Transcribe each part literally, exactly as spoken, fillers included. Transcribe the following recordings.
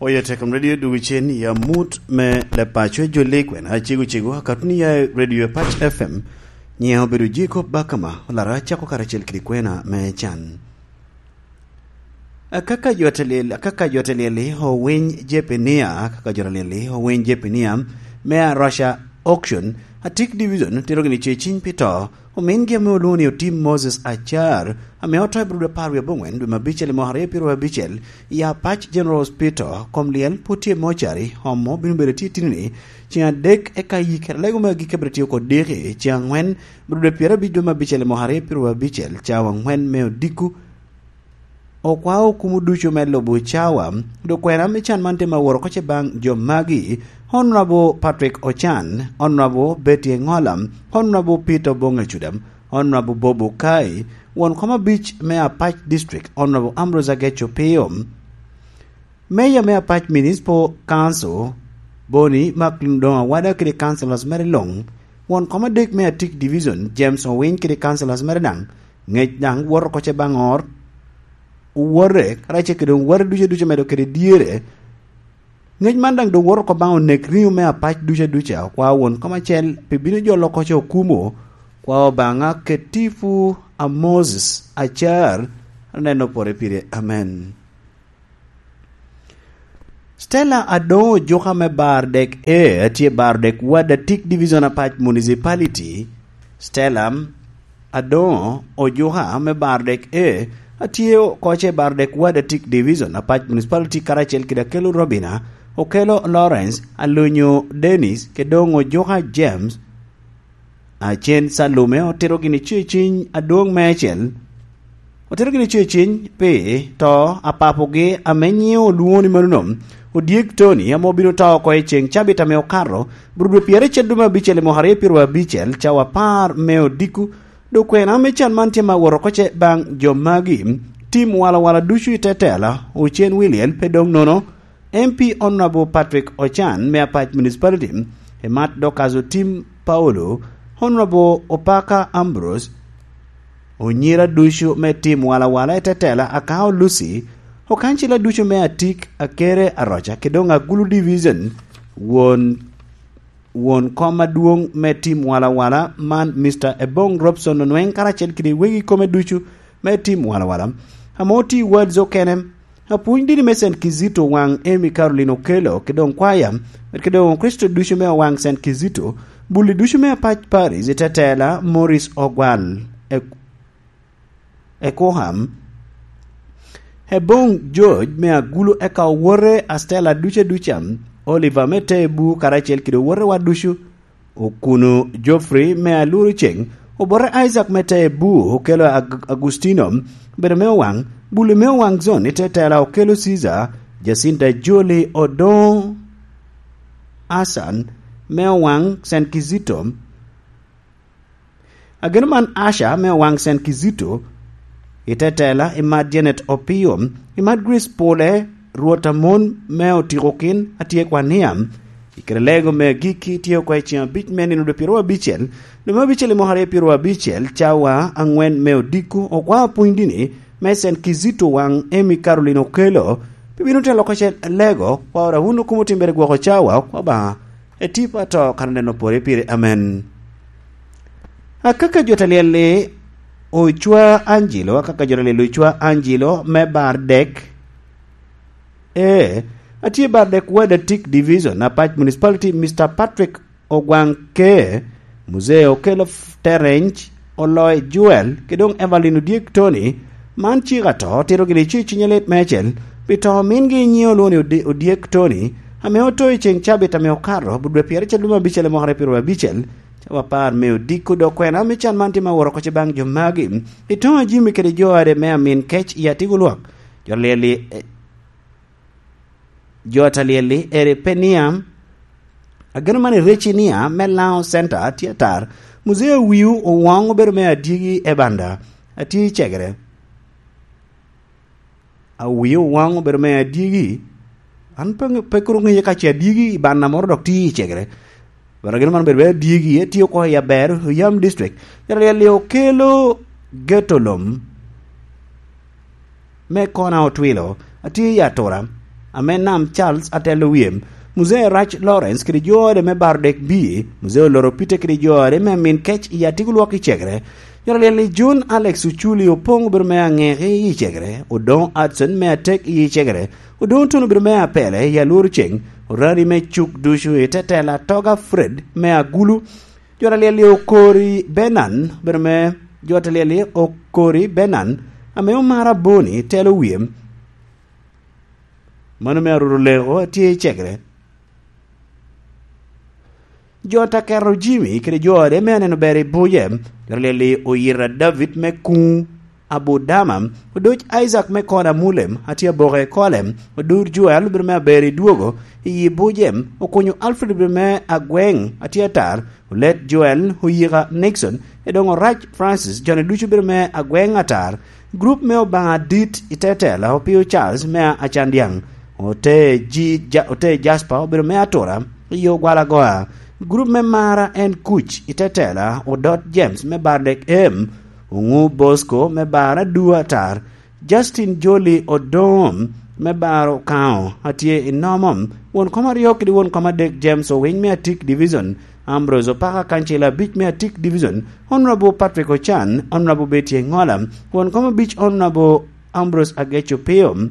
Oye Tekom Radio dwogo cen i amut me Lepaco Jolly Kwena, cego cego akatuni ya i Radio Apac F M. Nyiŋa obedo Jacob Bakama, olara cako karacel kede kwena me can. Akaka jo atelyel, akaka jo atelyel-li owiny Jepenia, akaka jo atelyel-li owiny Jepenia me Arusha Auction, Atik Division, tero gini ce ciny pi to, omingi ame olwoŋo ni Otim Moses Acar, ame oto i brud apar wie aboŋwen dwe me abicel i mwaka aryo pyeraryo abicel, i Apac General Hospital, kom lyel pwod tye i mocari, omo bino bedo tye itino-ni, ceŋ adek eka yik, lego me agikki abiro tye oko diki, ceŋ angwen, brud pyeraryo abic dwe me abicel i mwaka aryo pyeraryo abicel, cawa angwen me odiko, okwao okumo ducu me lubo cawa, dok kwena me can man tye ma woro oko ce baŋ jo magi, Honorable Patrick Ocan, Honorable Betty Engola, Honorable Peter Obonge Cudam, Honorable Bob Okai, won kom abic me Apac District, Honorable Ambrose Ageco Pio, Mayor me Apac Municipal Council, Boni Macklin Odongo Awada kede councillors mere luŋ, won kom adek me Atik Division, James Owiny kede councillors mere daŋ, ŋec daŋ woto oko ce baŋ ot, owote, karacel kede owote ducu ducu medo kede dyere. Ŋec man daŋ doŋ woto oko baŋ onek riŋo me Apac ducu aduca, okwao won kom acel pi bino jolo oko ce okumo, kwa Obaŋa ketipu a Moses Acar, aneno pore pire. Amen. Stella Adongo Ojuka me Bardek A, atye Bardek Ward Atik Division Apac Municipality. Stella Adongo Ojuka me Bardek A, atye oko ce Bardek Ward Atik Division Apac Municipality karacel kede Akelo Robina, Okelo Lawrence, Alonyo Dennis, kede doŋ Ojuka James, Acen Calume otito gini ce ciny adwoŋ meicel. Otito gini ce ciny pi to a papogi ame nyiŋe olwoŋo ni mano nom, Odyek Tony, ame obino to oko i ceŋ cabit ame okato, bro dwe pyericel dwe me abicel i mwaka aryo pyeraryo abicel, cawa apar me odiko, dok kwena me can man tye ma woro oko ce baŋ jo magi, tim walawala ducu i te tela, Ocen Wiliel pe doŋ nono, M P Honorable Patrick Ocan me Apac Municipality, Emat Dorcas Otim Paulo, Honorable Opaka Ambrose, onyira ducu me tim walawala i tetela Akao Lucy, okancila ducu me Atik, Akere, Aroca, kede doŋ Agulu Division, won, won kom adwoŋ me tim walawala man, Mister Ebong Robson Onweng, karacel kede wegi kome ducu me tim walawala, ame otye i wards okene, Apwony dini me Saint Kizito Owaŋ Amy Caroline Okello, kede doŋ kwaya, kede doŋ Kricito ducu me Owaŋ Saint Kizito, bulli ducu me Apac Paris i tetela Morris Ogwal, e, e Koham, Ebong George me Agulu, eka owote Astella ducu aduca, Oliver me Tebu karacel kede owotewa ducu, Okuno Geoffrey me Aluru Ceŋ, obote Isaac me Tebu, Okelo Ag-, Agustino, bedo me Owaŋ, Buli me Owaŋ Zon i tetela, Okelo Caesar, Jacinta Joli Odoŋo, Asan me Owaŋ Saint Kizito, Ageno man Asha me Owaŋ Saint Kizito, i tetela, i mat Janet Opio, i mat Grace Pole, Rwot Amon me Otikokin, atye kwa niam, i kare lego me agikki tye oko i ceŋ abic me nino dwe pyeraryo abicel, dwe me abicel i mwaka aryo pyeraryo abicel, cawa aŋwen me odiko, okwa apwony dini me Saint Kizito Owaŋ Amy Caroline Okelo, pi bino telo oko ce lego, kwa ora wun okumo timbere gwoko cawa, kwa Obaŋa, e tipo ato kan oneno pore pire. Amen. Akaka jo ta lyel-li Ocwa Angelo, akaka jo ta lyel-li Ocwa Angelo me Bardek. Ee, atye Bardek Ward Atik Division, Apac Municipality, Mister Patrick Ogwaŋ Ke, Muzee Okelo F-, Terence, Oloy Joel, kede doŋ Evelyn Odyek Tony, man cik ato, otito gini ci ciny alit meicel, pi to omingi nyiŋe olwoŋo ni Odi-, Odyek Tony, ame oto i ceŋ cabit ame okato, but dwe pyericel dwe me abicel i mwaka aryo pyeraryo abicel, cawa apar me odiko dok kwena me can man tye ma woro oko ce baŋ jo magi, i toŋ a Jimmy kede jo ade me amin kec i Atigo Lwak, jo lyel-li, eh, jo ta lyel-li, eri Peniam, ageno man i Recinia me Laŋo Center tye atar. Muzee Awiu Owoŋ obedo me adyegi e banda, atye i cegere. Awiu Owoŋ obedo me adyegi. An pe, pe kuro ŋeye ka ce adyegi i banda moro dok tye i cegere. But ageno man obedo me adyegi, etye oko i Aber, Oyam District. Jaralyel-li Okelo Geto Lom me Kona Otwilo, atye i atura, ame Nam Charles atelo wie, Muzee Rac Lawrence kede jo ode me baro dek bie, Muzee Oloro Peter kede jo ode me amin kec i Atigo Lwok i Cegere, Jor Alyel-li John Alex Oculi Opoŋ obedo me aŋeke i Cegere, Odoŋo Hudson me atek i Cegere, Odoŋo Tun obedo me apele i Alworo Ceŋ, Orani me Cuk ducu i te tela Toga Fred me Agulu, Jor Alyel-li Okori Benan obedo me, Jor Alyel-li Okori Benan ame omaro aboni telo wie. Mano me aruru leko atye i Cegere. Jo Takero Jimmy kede jo ode me aneno ber i buce, Jor Alyel-li Oyira David me Kuŋ Abudama, Odoc Isaac me Kona Mulem, atye aboke i Kolem, Odur Joel obedo me aber i dwogo, i yi buce, Okunyo Alfred obedo me Agweŋ, atye atar, Olet Joel, Oyika Nixon, Edoŋo Rac Francis, joni ducu obedo me Agweŋ atar, grup me Obaŋa Adit i Tetela, Opio Charles me Acandyaŋ, Ote Ji-, Ja-, Ote Jasper obedo me Atura, i Ogwalagoa, grup me Mara en Kuc i Tetela, Odot James me Bardek Em, Oŋu Bosco me Bara Dua atar, Justin Joli Odoŋo me Bara Okaŋo atye i Nomom, won kom aryo kede won kom adek James Owiny me Atik Division, Ambrose Opaka Kancil abic me Atik Division, Honorable Patrick Ochan, Honorable Betty Engola, won kom abic Honorable Ambrose Ageco Pio.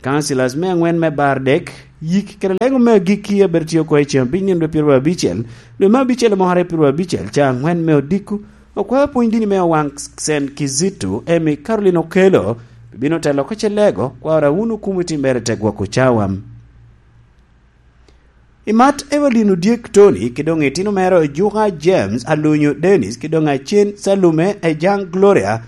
Councillors me aŋwen me bar dek, yik kede lego me agikki a bedo tye oko i ceŋ abiny nino dwe pyeraryo abicel, dwe me abicel i mwaka aryo pyeraryo abicel, ca aŋwen me odiko, okwao pwony dini me Owaŋ Saint Kizito, Emmy Caroline Okello, bino telo oko ce lego, kwaro a wun okumo i timmere te gwoko cawa. I mat Evelyn Odyek Tony, ki doŋ itino mere Ojuka James, Alunyo Dennis, ki doŋ Acen Salume, Ejang Gloria,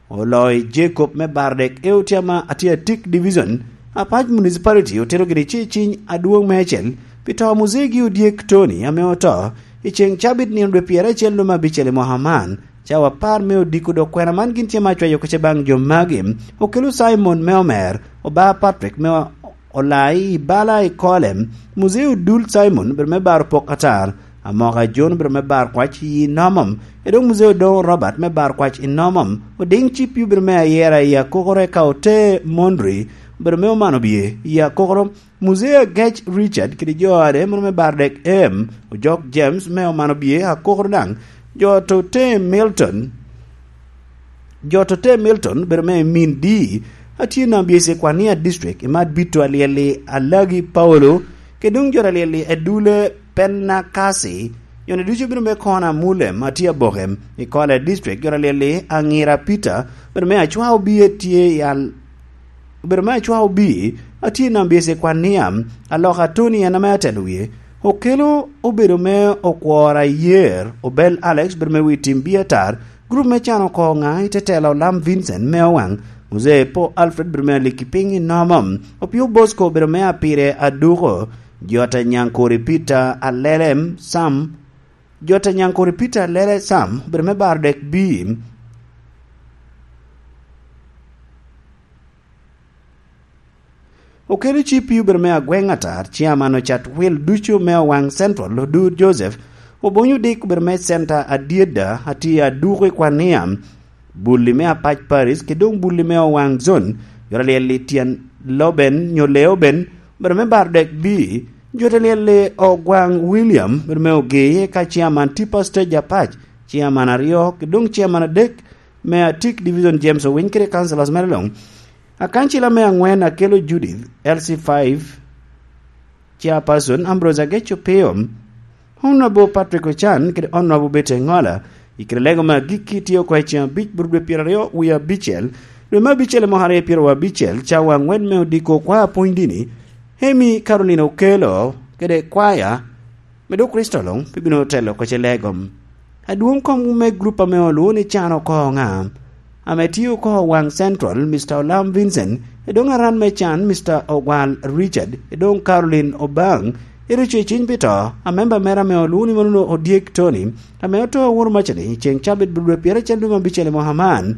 Oloy Jacob me Bardek e Otyama Atiatik Division, Apac Municipality otero gire ce ciny adwoŋ meicel pi to a Muzegi Odyek Tony ame oto i ceŋ cabit nino dwe pyeracel lume abicel i mwaka man. Cawa apar me odiko dok kwena man gin tye ma acwayo kece baŋ jo magi, Okelo Simon me Omer, Oba Patrick me Olai i bala i Kolem, Muzee Odul Simon obedo me baro pok atar, Amoka John obedo me bar kwac i Nomom, Edong Muzee Odongo Robert me bar kwac i Nomom, Oding Cipi obedo me ayera i Akokoro, eka Ote Mondri obedo me omano bye i Akokoro, Muzee Agec Richard kede jo ade mono me bar dek em, Ojok James me omano bye Akokoro daŋ, jo to Ote Milton, Jo to te Milton bedo me min di, atye nam bye Sekwania District, i mat bito alyel-li Alagi Paulo, kede doŋ jo alyel-li Edule Penakasi, joni ducu bedo me Kona Mulem, atye aboke, i Kole District, jo alyel-li Aŋira Peter, bedo me Acwa Obie tye i Al-, bedo me Acwa Obie, atye nam bye Sekwania, Aloka Tony en ame atelo wie, Okelo obedo me Okwora Yer, Obel Alex bedo me wi tim bie atar, Grup me can oko ŋa i te tela Olam Vincent me Owaŋ, Muzee Po Alfred bedo me aliki piny i Nomom, Opio Bosco bedo me apire aduko, Jota Nyankori Peter Alele Sam, Jota Nyankori Peter Alele Sam bedo me baro dek bim, Okelo Cipi obedo me Agweŋ Atar, Ciaman Ocat Wil ducu me Owaŋ Central, Odur Joseph, Obonyo Dik obedo me Centa Adyeda, atye aduko i Kwania, Bulli me Apac Paris, ki doŋ Bulli me Owaŋ Zone, Jor Alyel i Tyen Loben, nyo Leoben, obedo me Bardek B, Jor Alyel i Ogwaŋ William, obedo me Ogee, ka Ciaman Tipa Stage Apac, Ciaman aryo, ki doŋ Ciaman adek me Atik Division James Owiny kede Councillors mere luŋ. Akancila me aŋwen Akelo Judith, L C five, Chairperson Ambrose Ageco Pio, Honorable Patrick Ochan kede Honorable Betty Engola, i kede lego me agikki tye oko i ceŋ abic bur dwe pyeraryo wie abicel, dwe me abicel i mwaka aryo pyeraryo abicel, cawa aŋwen me odiko kwa apwony dini, Emi Caroline Okelo kede kwaya, me dok Kricito luŋ pe bino telo oko ce lego. Adwoŋ kom me grup ame olwoŋo ni Can Oko Ŋa, ame tye oko Owaŋ Central, Mister Olam Vincent, edoŋ aran me can, Mister Ogwal Richard, edoŋ Caroline Obaŋ, ero oco i ciny pi to, a memba mere ame olwoŋo ni mano Odyek Tony, ame oto aworo macani, ceŋ cabit bur dwe pyeracel dwe me abicel i mwaka man.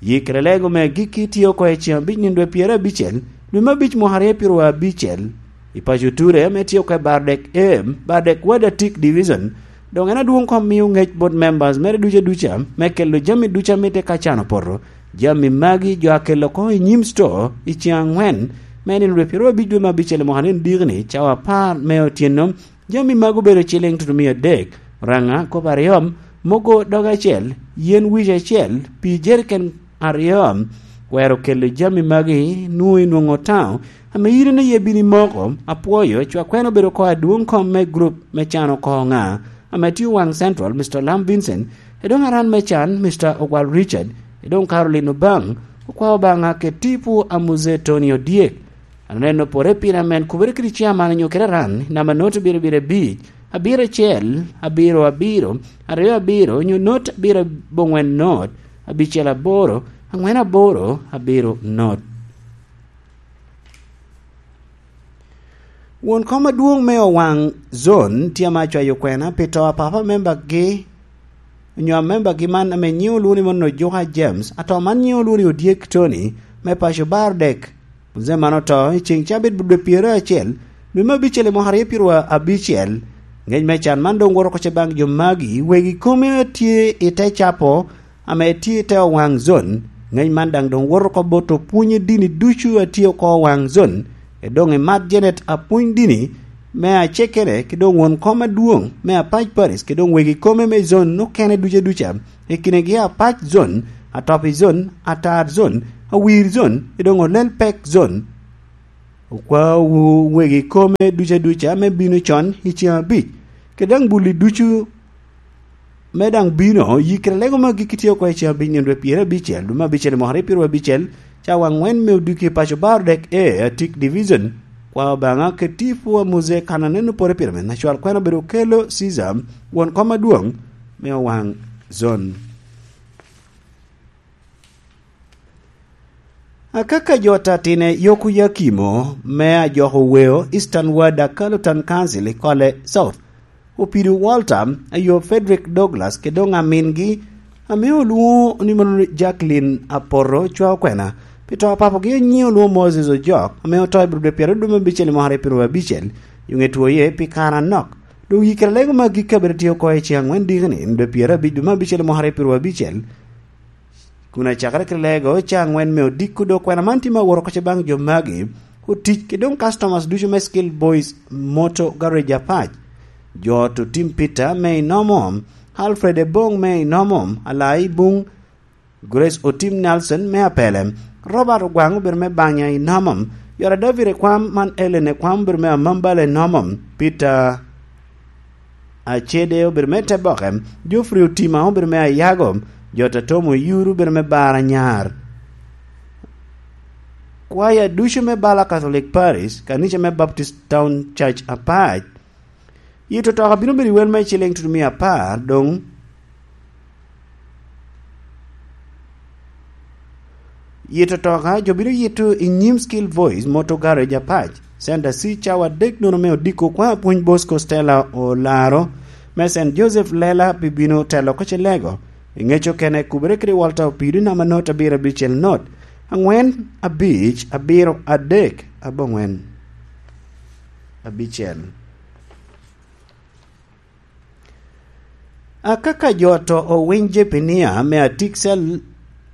Yikere lego me agikki tye oko i ceŋ abic nino dwe pyerabicel, dwe me abic mwaka aryo pyeraryo abicel, i paco Ture ame tye oko i Bardek A, Bardek Wadatik Division. Doŋ en adwoŋ kom mio ŋec bot members mere duca duca me kelo jami duca ame tye ka can opoto, Jami magi jo akelo oko i nyim sto i ceŋ aŋwen, me nino rwet pyeraryo abic dwe me abicel i mwaka ni diki-ni, cawa apar me otyeno. Jami magi obedo ciliŋ tutumia adek, raŋa kop aryo, mogo dog acel, yen wic acel, pii jeriken aryo. Wero kelo jami magi nwoŋo inwoŋo taŋo, ame yito ni ye bini moko, apwoyo, cwakwene obedo oko adwoŋ kom me gurup me can oko ŋa, ame tye Owaŋ Central, Mister Lam Vincent, edoŋ aran me can, Mister Ogwal Richard, edoŋ Caroline Obaŋ, okwao Obaŋa kede tipo a Muse Tony Odyek. Aneno pore piny amen kubere kede ciaman onyo kede aran, namba not abiro abiro abic, abiro acel, abiro abiro, aryo abiro, onyo not abiro aboŋwen not, abicel aboro, aŋwen aboro, abiro not. Won kom adwoŋ me Owaŋ Zon tye ame acwayo kwena pi to a papa membagi, onyo a membagi man ame nyiŋe olwoŋo ni Mono Ojuka James, ato man nyiŋe olwoŋo ni Odyek Tony, me paco Bardek. Muzee man oto i ceŋ cabit dwe pyeraryo acel, dwe me abicel i mwaka aryo pyeraryo abicel. Ŋec me can man doŋ woto oko ce baŋ jo magi, wegi kome a tye i te capo, ame tye i te Owaŋ Zon. Ŋec man daŋ doŋ woto oko bot opwony i dini ducu a tye oko Owaŋ Zon, edoŋ i Mat Janet apwony dini me acekere, ki doŋ won kom adwoŋ me Apac Paris, ki doŋ wegi kome me zon okene duca duca, i kinegi Apac Zon, Atopi Zon, Atar Zon, Awir Zon, ki doŋ Olel Pek Zon. Okwaowu wegi kome duca duca me bino con i ceŋ abic, kede daŋ bulli ducu me daŋ bino, yikere lego me agikki tye oko i ceŋ abic nino dwe pyerabicel, dwe me abicel i mwaka aryo pyeraryo abicel, cawa aŋwen me odiki i paco Bardek A, Atik Division. Kwa Obaŋa kede tipo a Mose kan aneno pore pire me nacwal kwena obedo kelo Caesar, won kom adwoŋ me Owaŋ Zon. Akaka jo tatine Yoko Yakimo me ajoko weo Eastern Ward Akalo Town Council i Kole South, Opido Walter, ayo Frederick Douglas, kede doŋ amingi, ame olwoŋo ni mono Jacqueline Apoto Cwa Okwena, pi to a papogi anyiŋ olwoŋo Moses Ojok, ame oto i Abril dwe pyeraryo dwe me abicel i mwaka aryo pyeraryo abicel, yo ŋe two ye pi kare anok. Doŋ yikere lego me agikki abedo tye oko i ceŋ aŋwen diki ni, dwe pyerabicel dwe me abicel i mwaka aryo pyeraryo abicel, kun acakere ki lego ca aŋwen me odiko dok kwena man tye me awot oko ce baŋ jo magi, otic ki doŋ customers ducu me Skill Boys Motor Garage Apac, jo ot Otim Peter me Inomom, Alfred Ebong me Inomom, Alai Buŋ, Grace Otim Nelson me Apelem, Robert Ogwaŋ obedo me Banya Inomom, yora David Ekwam man Ellen Ekwam obedo me Amambala Inomom, Peter Acede obedo me Teboke, Geoffrey Otima obedo me Ayago, jo Tatomo Oyuru obedo me Bar Anyar. Kwaya ducu me Bala Catholic Parish, kanica me Baptist Town Church Apac, yito toka bino bedo i wel me ciliŋ tutumia apar, doŋ yito toka jo bino yito i nyim Skill Voice Motor Garage Apac, Center C, cawa adek nono me odiko kwa Apwony Bosco Stella Olaro me Saint Joseph Lela pi bino telo oko ce lego. I ŋec okene kubere kede Walter Opido namba not abiro abicel not aŋwen abic abiro adek aboŋwen abicel. Akaka jo to owiny Jepinia me Atik Cell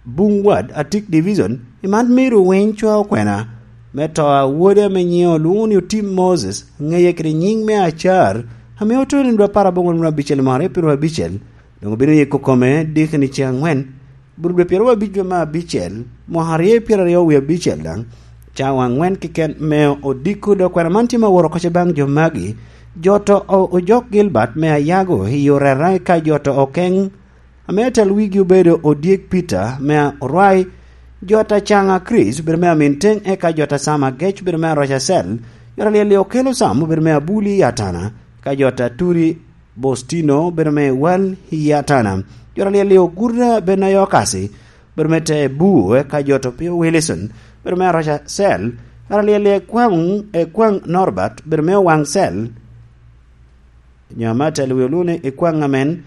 Buŋ Wad, Atik Division, i man miro winy Cwa Okwena, me to a wode ame nyiŋe olwoŋo ni Otim Moses, ŋeye kede nyiŋ me Acar, ame oto i nino dwe apar aboŋo nino abicel i mwaka aryo pyeraryo abicel, doŋ obino yiko kome diki ni ceŋ aŋwen, Burubwe pyeraryo abic dwe me abicel, mwaka aryo pyeraryo wie abicel daŋ, cawa aŋwen keken me odiko dok kwena man tye me awot oko ce baŋ jo magi, jo to o-, Ojok Gilbert me Ayago i Orera, eka jo to Okeng, ame atel wigi obedo Odyek Peter me Orwai, jo ta Caŋa Chris obedo me Aminteng, eka jo ta Sam Agec obedo me Aroca Cell, jo ta Lyeli Okelo Sam obedo me Abuli i Atana, ka jo ta Turi Bostino obedo me Wal i Atana. Jo ta Lyeli Oguta Benayo Okasi obedo me Te Buu, eka jo ta Opio Wilson obedo me Aroca Cell. Jo ta Lyeli Ekwaŋ, Ekwaŋ Norbert obedo me Owaŋ Cell. Nyo ame atel wi olune Ekwaŋ amen.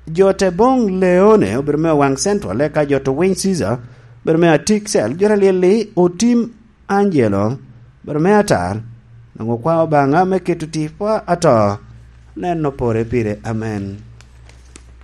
Jo te boŋ Leone obedo me Owaŋ Central, eka jo to Winy Caesar obedo me Atik Cell, jo ta Lyeli Otim Angelo obedo me Atar, nwoŋo kwa Obaŋa me keto tipo ato Nen opore pire. Amen.